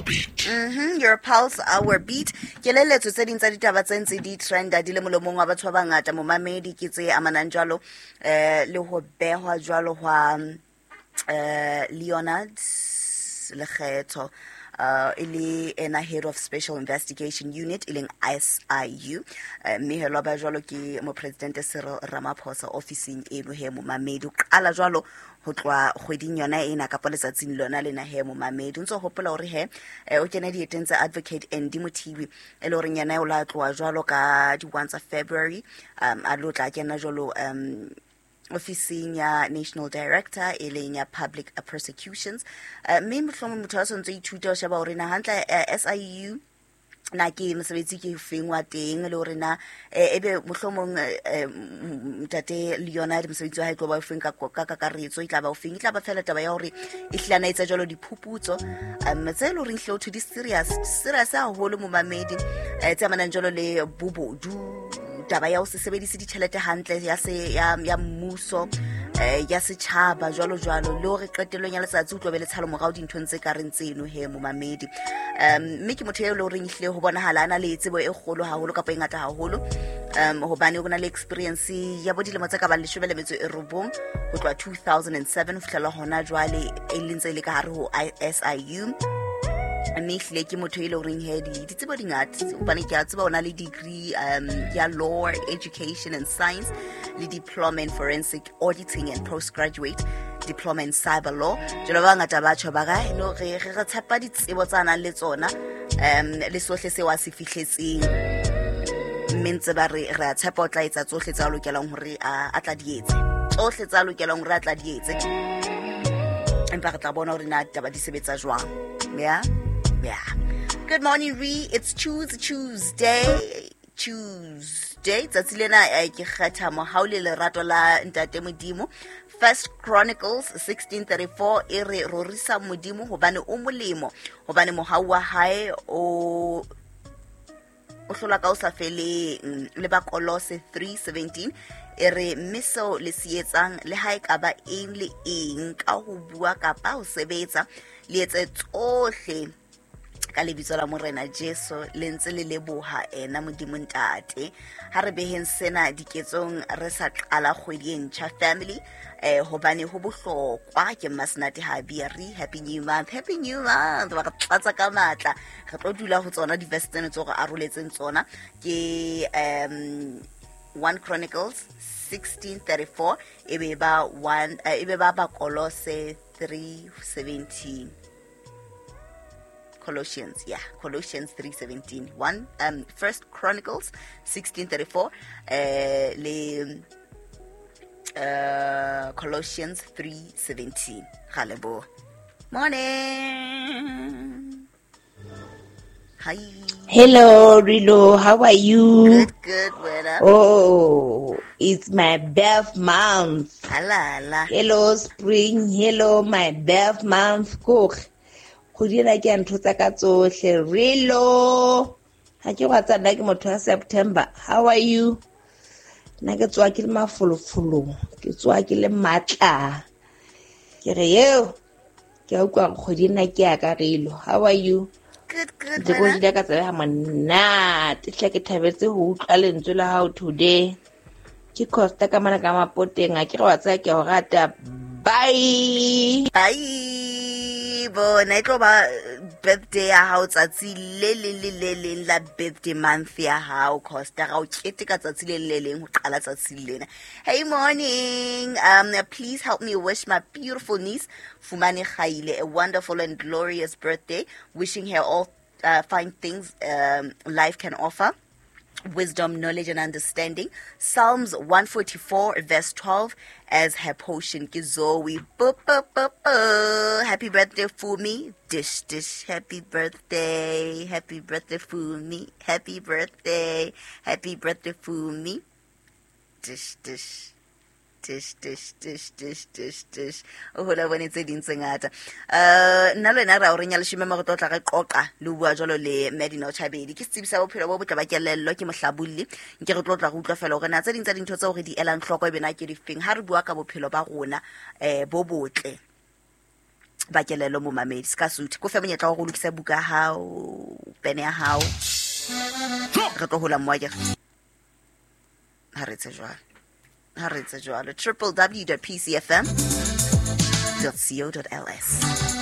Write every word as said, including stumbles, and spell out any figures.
our beat. Mm-hmm, your pulse, our beat. Ke leletso tse ding tsa ditaba tse ntse di trenda di le molomong wa batho ba bangata momamedi ke tse amanang jwalo eh le ho behwa jwalo hwa eh Leonard Lekgetho uh e le ena head of special investigation unit e leng S I U mme he lo ba jwalo ke mopresidente Cyril Ramaphosa officing eno he momamedi o qala jwalo ho tloha kgweding yona ena kapa letsatsing lona lena he momamedi o ntso hopola hore he o kena dieteng tsa advocate Andy Mothibi e le hore yena o la tloha jwalo ka di one tsa February um a lo tla kena jwalo um officing ya national director e leng ya public prosecutions mme mohlomong motho a sontse ithuta o sheba hore na hantle S I U na ke mosebetsi ke feng wa teng le hore na ebe mohlomong ntate Leonard mosebetsi wa hae tlo ba o feng ka ka kakaretso e tla ba o feng e tla ba fela taba ya hore e hlana etsa jwalo diphuputso um tse le horeng hle o di serious serious haholo momamedi tse amanang jwalo le bobodu taba ya ho se sebedise ditjhelete hantle ya se ya ya mmuso eh ya setjhaba jwalo jwalo le hore qetellong ya letsatsi o tlo be le tshalo morao dinthong tse ka reng tseno he momamedi um mme ke motho eo le horeng ehlile ho bonahala ana le tsebo e kgolo haholo kapa e ngata haholo um hobane o na le experience ya bo dilemo tse ka bang leshome le metso e robong ho tloha two thousand seven ho fihlela hona jwale e leng tse le ka hare ho S I U mme ehlile ke motho e le horeng he di ditsebo di ngata hobane ke a tseba o na le degree um ya law education and science le diploma in forensic auditing and postgraduate diploma in cyber law jalo ba ngata ba tjho ba ka no re re tshepa ditsebo tsa nang le tsona um le sohle seo a se fihletseng mme ntse ba re re a tshepa o tla etsa tsohle tsa lokelang hore a tla di etse tsohle tsa lokelang hore a tla di etse empa re tla bona hore na taba di sebetsa jwang. Yeah. Yeah. Good morning, Ree. It's Choose Tuesday. Tuesday. Tsatsi lena ke kgetha mohau le lerato la Ntate Modimo. First Chronicles sixteen thirty-four e re rorisa Modimo hobane o molemo, hobane mohau wa hae o o hlola ka o sa feleng. Le ba Kolose three seventeen e re mme seo le se etsang le ha e ka ba eng le eng ka ho bua kapa ho sebetsa le etse tsohle ka lebitso la Morena Jesu le ntse le leboha ena Modimo Ntate. Ha re beheng sena diketsong re sa qala kgwedi e ntjha family eh hobane ho bohlokwa ke Masenate ha bia re happy new month, happy new month ba re tlatsa ka matla re tlo dula ho tsona di-verse tseno tse re aroletseng tsona ke um one Chronicles sixteen thirty-four e be ba one e be ba Bakolose three seventeen Colossians, yeah, Colossians three seventeen. One, um, First Chronicles sixteen thirty-four, uh, le, uh, Colossians three seventeen. Halebo. Morning. Hi. Hello, Rilo. How are you? Good, good, Wena. Oh, it's my birth month. Hala, hala. Hello, spring. Hello, my birth month. Cook. Kgwedi ena ke ya ntho tsa ka tsohle. Rilo. Ha ke wa tsa nna ke motho wa September. How are you? Nna ke tswa ke le mafolofolo, ke tswa ke le matla. Ke re eo ke a utlwa kgwedi ena ke ya ka Rilo. How are you? Good, good. Ke go dila ka tsebe ha monate. Hle ke thabetse ho utlwa lentswe la hao today. Ke Costa ka mana ka mapoteng a ke re wa tsaya ke o rata. Bye. Bye. Bona e tlo ba birthday ya hao tsatsi le le le le leng la birthday month ya hao Costa ga o keteka tsatsi le le leng ho qala tsatsi lena. Hey morning, um please help me wish my beautiful niece Fumane Khaile a wonderful and glorious birthday, wishing her all uh, fine things um, life can offer. Wisdom, knowledge, and understanding. Psalms one forty-four, verse twelve, as her portion. Zoe, happy birthday, Fumi. Dish, dish, happy birthday. Happy birthday, Fumi. Happy birthday. Happy birthday, Fumi. Dish, dish. Dish, dish, dish, dish, dish, dish. O hola bone tse ding tse ngata. Eh nna le wena ra o renya leshome mo re tlo tla re qoqa le bua jwalo le Medina Chabedi. Ke setsebi sa bophelo bo botle ba kelello ke mohlabolli. Nke re tlo tla re utlwa fela hore na tse ding tsa dintho tseo re di elang hloko e bena ke difeng ha re bua ka bophelo ba rona eh bo botle. Ba kelello momamedi se ka sutha ko fe monyetla wa go lokisa buka ya hao, pene ya hao, re tlo hola mo akere. Ha re etse jwalo, ha re etse jwalo. Triple w dot p c f m dot co dot l s.